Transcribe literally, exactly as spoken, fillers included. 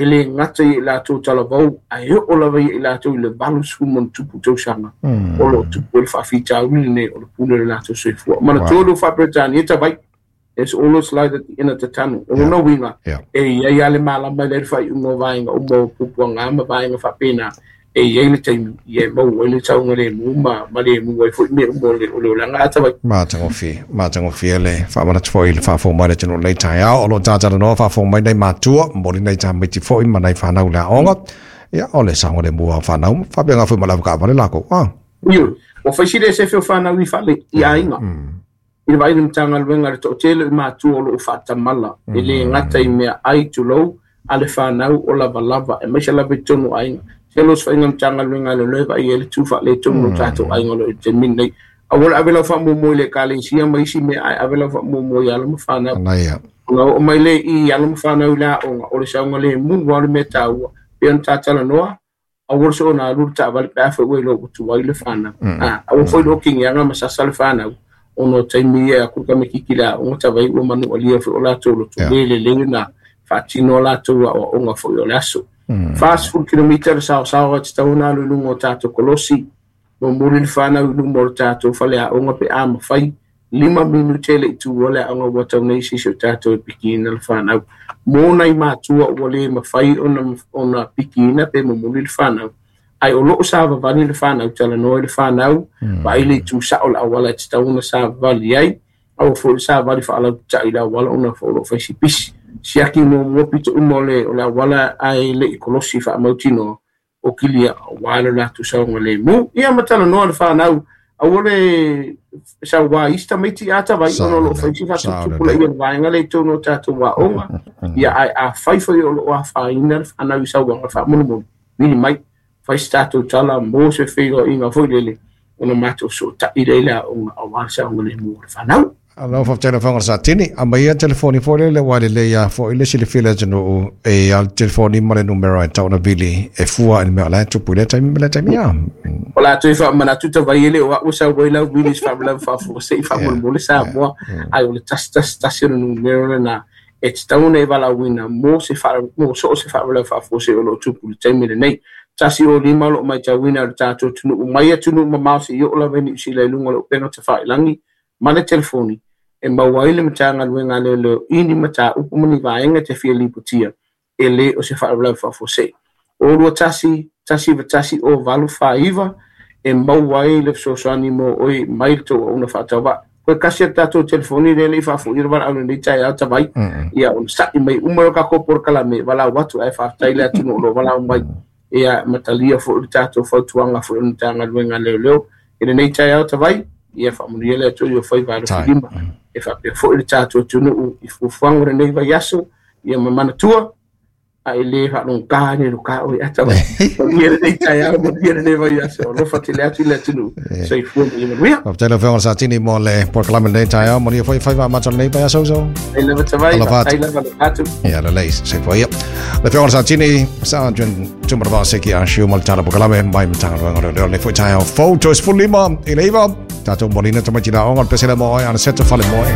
E le gata i latou talavou, ae oo lava i latou i le valu ma ona tupu tausaga o loo tupu ai le faafitauli lenei o le pule o le latou soifua. Manatua le Faa-Peretania tavai, "There's always light at the end of the tunnel." O lona uiga, e iai lava le malama i le faaiuga o vaega uma o puapuaga ma vaega faapena, e iai le taimi ia e maua ai le saogalemu ma ma lemu ai foi mea uma o le o le olaga a tavai. Matagofie, matagofie le faamanatu foi i le faafofoga mai le atunuu lenei taeao o loo tatalanoa faafofoga mai nai matua momoli nai tamaiti foi ma nai fanau le aoga. Ia o le saogalemu o fanau faapena foi ma le avakaavale lakou ah. Ioe, ua faisi le sefe o fanau i fale i aiga i le vaai le Matagaluega le toatele o matua o loo faatamala e le gata i mea ai tulou a le fanau o lavalava e maise lava i totonu o aiga. Tele o faiga Matagaluega le loe vaai ai le tu faaletonu o tatou aiga o lo o i le taimi lenei. Aua le ave lau faamuamua i le ekalesia ma isi mea, ae ave lau faamuamua i alo ma fanau. Ona oo mai lea i alo ma fanau i le aoga, o le saogalemu lava o le mea taua. Pei ona tatalanoa, aua le soona alu le taavale pe a foi ua iloa ua tuai le fanau. Aua foi le okigiaga ma sasa le fanau, ona o taimi ia e aku le tamaititi i le aoga tavai ua manualia foi o latou loto le lelei ona faatino a latou aoaoga foi o le aso. Fa sefulu kilomita le saosaoa e tatau ona alu i luga o tatou kolosi, momoli le fanau i luma o le tatou faleaoga pe a mafai, lima minute le i tuua le aoga ua tau nei sisi o tatou e pikiina le fanau. Mo nai matua ua le mafai ona ona pikiina pe momoli le fanau, ae o loo savavali le fanau, talanoa i le fanau, vaai le itu sao o le auala e tatau ona savavali ai, aua foi le savali faalautai i le auala ona o loo fai si pisi. Siaki muamua pito uma o le o le auala ae le i kolosi faamautinoa o kilia aua le latou saogalemu. Ia ma talanoa le fanau, aua le sauā isi tamaiti a tavai ona o loo fai si faatuputupulaia le vaega lea i totonu o tatou aoga. Ia ae afai foi o loo afaina le fanau i sauaga, faamolemole vili mai, fai se tatou tala mo se feiloaiga foi lele ona matou sootai lea i le aoga aua le saogalemu o le fanau. Alo faafetai lau Afioga Satini. Aumaia telefoni foi lele ua lelei a foi le silafia le atunuu e a le telefoni ma le numera e tau ona vili e fua i le mea o la e tupu i lea taimi ma lea taimi a. O la toe faamanatu tavai e le o au sau ai lau vili se faalavelave faafuasei faamolemole Samoa, ai o le tasi tasi tasi o le numera lena e tatau ona e valaauina mo se faa mo so o se faalavelave faafuasei o loo tupu i le taimi lenei. Tasi o lima o loo matauina o le tatou atunuu mai atunuu mamao seia oo lava i Niu Sila i luga o le upega tafailagi ma le telefoni e maua ai le Matagaluega a Leoleo i ni mataupu ma ni vaega te fia lipotia e le o se faalavelave faafuasei. O lua tasi, tasi iva tasi o valu fa iva e maua ai le fesoasoani mo oe mai le tou auauna faatauvaa. Koe kasi a le tatou telefoni lea le i faafoia le valaau lenei taeao tavai, ia ona sa'i mai uma o tatou polokalame valaau atu ae faafetai le atunuu o loo valaau mai. Ia matalia foi le tatou fautuaga foi o le Matagaluega a Leoleo i lenei taeao tavai, ia faamanuia le Atua i o faiva alofilima. E faapea foi le tatou atunuu i fuafuaga o lenei vaiaso, ia ma manatua, a e le faalogogā ni lo ka oe ata mai. Manuia lenei taeao, manuia lenei vaiaso. Alofa tele atu i le atunuu. Soifua ma ia manuia. Faafetai lau Afioga Satini mo le polokalame lenei taeao, manuia foi faiva amata o lenei vaiaso uso. Ai lava tavai, faafetai lava le atu. Ia lelei, soifua ia. Le Afioga Satini, Sergeant Tumanavao Seki Ah Siu ma le tala polokalame mai Matagaluega o Leoleo lenei foi taeao fou, toe sefulu lima i le iva. Tatou molina tamaiti le aoga o le pesele mo oe ana seta fale moe.